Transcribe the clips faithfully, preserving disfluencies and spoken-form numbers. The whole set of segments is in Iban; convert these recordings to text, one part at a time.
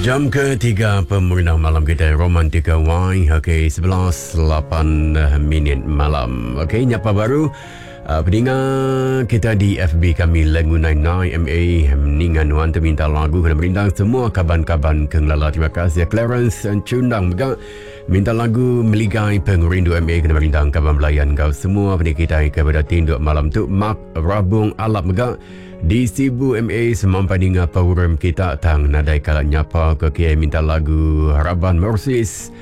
Jam ketiga pemerintah malam kita Romantika Y. Okey, sebelas lapan minit malam. Okey, nyapa baru uh, pendengar kita di F B kami Lengu sembilan sembilan M A ningan nuan minta lagu kena merindang semua kaban-kaban kenglala. Terima kasih Clarence Cundang juga minta lagu Meligai Pengerindu M A kena merindang kaban belayan kau semua pendengar kita kepada tinduk malam tu. Mak Rabung Alap mega di Sibu M A semampai dengar program kita tang nadai kala nyapa ke kia minta lagu Harapan Mersis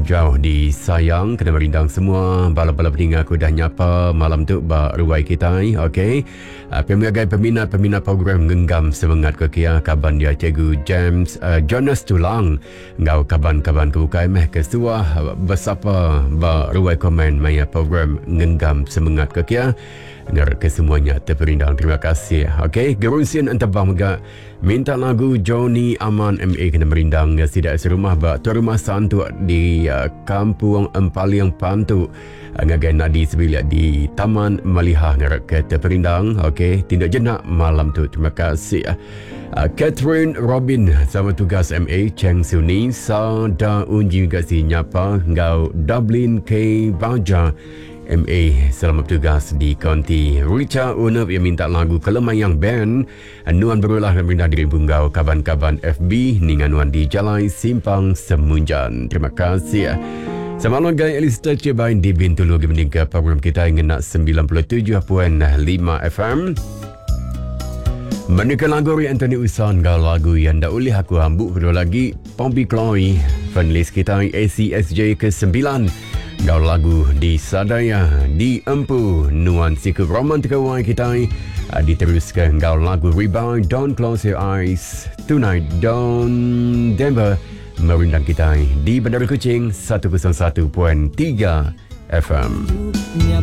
Jauh di Sayang kena merindang semua bala-bala pendengar aku dah nyapa malam tu ba ruai kita. Okey, pemiagai peminat-peminat program genggam semangat ke kia kaban dia Cikgu James uh, Jonas Tulang ngau kaban-kaban ke bukai meh ke suah bersapa ba ruai komen maya program genggam semangat ke kia. Ngarap ke semuanya terperindang. Terima kasih. Okey, Gerunsian Entebang juga minta lagu Johnny Aman M A kena merindang sidak serumah ba tuan rumah santuk di uh, Kampung Empaliang Pantu ngagai Nadi sebilik di Taman Malihah. Ngarap ke terperindang. Okey, tindak jenak malam tu. Terima kasih. Uh, Catherine Robin sama tugas M A Cheng Suni Sa Da Unji juga si nyapa ngau Dublin K Baja M A selamat bertugas di Konti. Richard Unep yang minta lagu Kelemayang Band Nuan berulah dan minta diri bunggau kaban-kaban F B ningan Nuan di Jalai Simpang Semunjan. Terima kasih. Selamat malam guys, Alistair Cebain di Bintulu meninggal program kita yang nak sembilan puluh tujuh perpuluhan lima F M. Menekan lagu Anthony Usan gau lagu yang dah boleh aku hambuk kedua lagi Pompey Chloe penulis kita A C S J ke sembilan gau lagu di Sadaya di Empu Nuan Siku Romantika Y kita diteruskan gau lagu Rebound Don't Close Your Eyes Tonight Don Denver merindang kita di Bandar Kuching seratus satu perpuluhan tiga F M.